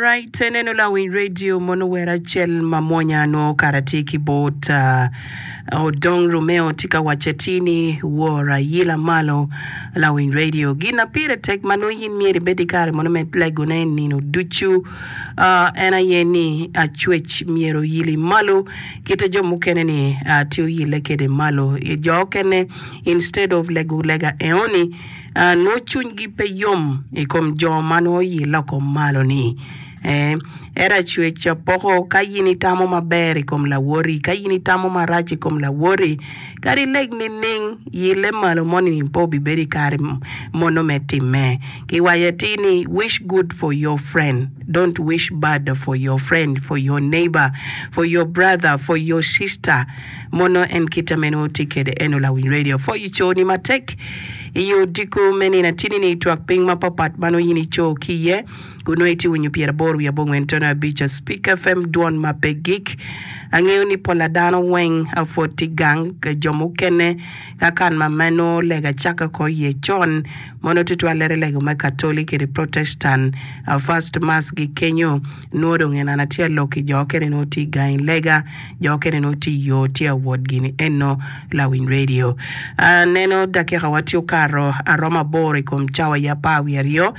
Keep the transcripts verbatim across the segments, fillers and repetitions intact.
Right, eneno lawiny radio mono wer acel ma mwonya nwo kara tye ki bot uh, Odong Romeo tye ka waco atir ni wora yila malo lawiny radio. Gin na pire tek ma nongo in myero ibed i kare mono me legone nino ducu uh, en aye ni acwec myero oyili malo kite jo mukene ni uh, tye oyile kede malo. Jo okene instead of lego lega eoni uh, nongo cwinygi pe yom i kom jo ma nongo oyile oko malo ni. Eh, ento acwec poko ka in itamo maber i kom lawoti, ka in itamo marac i kom lawoti, kadi leg nining yile malo moni pe obibedo i kare mono me timme. Kiwaco atir ni wish good for your friend, don't wish bad for your friend, for your neighbor, for your brother, for your sister. Mono en kite meno tye kede eno lawiny radio. Pwoyo coni matek i odiko me nino atini ni twak piny mapapat ma nongo in ico ki iye. Kun nongo itye winyo pyeraboro wiye abongwen tono abic Speak F M dwon ma pe gik. Angeyo ni pola dano weng pwod tye gang jo mukene ka kan ma meno lega caka ko iye con mono tutwalere lego me Katoli kede Protestant first mass gi kenyo nwo dong en an atye alok ki jo okene nwo tye gang i lega jo okene nwo tye i yo tye awot gini eno lawiny radio. Aneno dakika wa tye okato aromo aboro i kom cawa ya apar wiye aryo.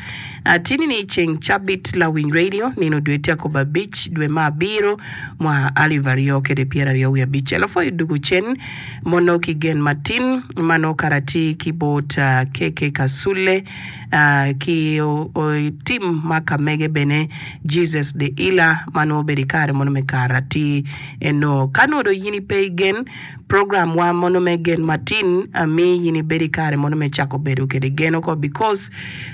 Atini ni ceng cabit lawiny radio nino dwe tye akobo abic dwe ma abiro mwaka alip aryo kede pyeraryo wiye abicel apwoyo dugu cen mono ki gen matin mano kara tye ki bot uh, K K Kasule uh, ki uh, tim ma kamege bene Jesus the Healer mano obedo i kare mono me kara tye eno ka nongo dong in ipe igen program wa mono me gen matin ami in ibedo i kare mono me cako bedo kede gen oko because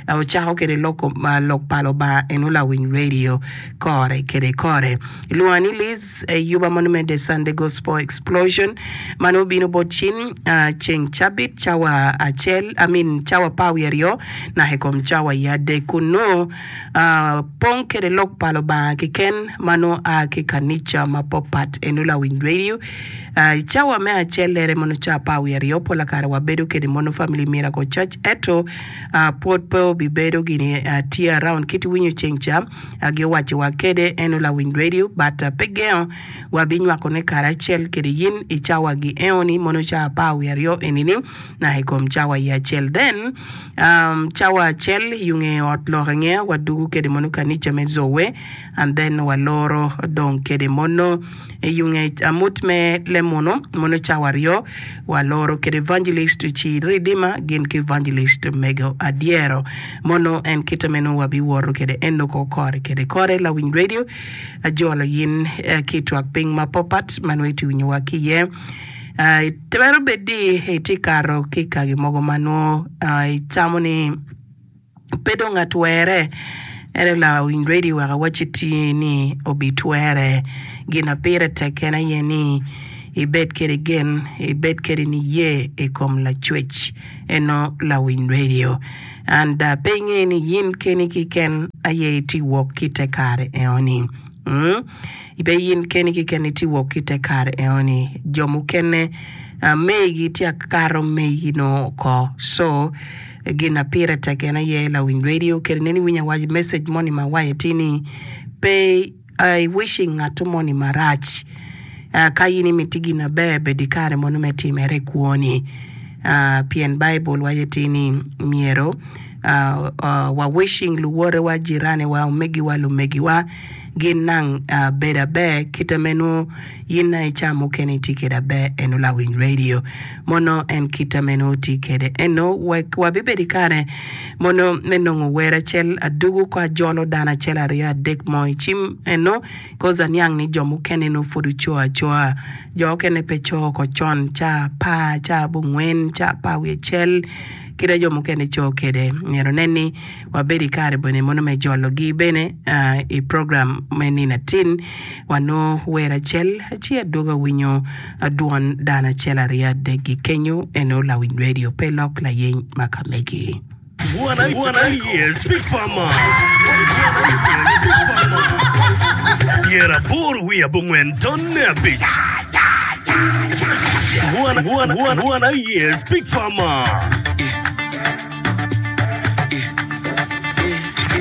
uh, ocako kede lok, uh, lok pa Lubanga eno lawiny radio kore kede kore. Lwonga ni Liz e yuba mono me The Sunday Gospel Explosion mano obino bot cin uh, ceng cabit cawa acel I mean cawa apar wiye aryo naka i kom cawa i adek kun nongo uh, pong kede lok pa Lubanga keken mano a ki kanica mapapat eno lawiny radio. uh, cawa me acel lere mono ca apar wiye aryo pola kare wabedo kede mono Family Miracle Church eto uh, pwod pe obibedo gini uh, tye around kit winyo ceng ca uh, giwaco wa kede eno lawiny radio but uh, pe gengo wabinywakone karacel kede yin i cawa gi eoni mono ca apar wiye aryo enini naka i kom cawa i acel then um, cawa acel yunge ot lok ingea wadugu kede mono kanica me Zoe and then waloro dong kede mono yunge amut me lemono mono cawa aryo waloro kede evangelist ci Redeemer gin ki evangelist mego adyero mono en kite meno wabiwoto kede eno ko kore kede kore lawiny radio ajolo yin eh, ki twak piny mapapat ma nongo itye winyowa ki iye. Uh, twero bedi itye kato ki kagi mogo ma nongo uh, icamo ni pe dong atwere ento lawiny radio wek awacci tye ni obitwere gin na pire tek en aye ni ibed kede gen ibed kede niye i kom lacwec eno lawiny radio and uh, pe inge ni yin keni kiken aye itye wok ki te kare eoni. Mm? Pe yin keni kiken itye wok ki te kare eoni jo mukene uh, megi tye akato megi no oko so gin na pire tek en aye lawiny radio kede neni winyo awaco message moni ma waco tye ni pe uh, i wishing ngato moni marac uh, ka in imiti gin maber bed i kare mono me timere i kwoni uh, pien Bible waco tye ni myero uh, uh, wa wishing luwotewa jiranewa omegiwa lumegiwa gin nang uh, bedo aber kite meno yin na ica mukene itye kede aber eno lawiny radio mono en kite meno tye kede eno wek wabibedo i kare mono me nongo wer acel adugu ko ajolo dano acel aryo adek mo i cim eno cause aniang ni jo mukene no pud oco acoa jo okene pe co oko con ca apar ca abongwen ca apar wiye acel kite jo mukene co kede myero nen ni wabedo i kare bene mono me jologi bene uh, i program me nino atin wanongo wer acel ci adwogo awinyo dwon dano acel aryo adek gi kenyo eno lawiny radio pe lok layeny ma kamegi. One aye Speak Farmer. Speak Farmer. Pyeraboro wiye abongwen tonne abic. One, one, one, one aye Speak Farmer.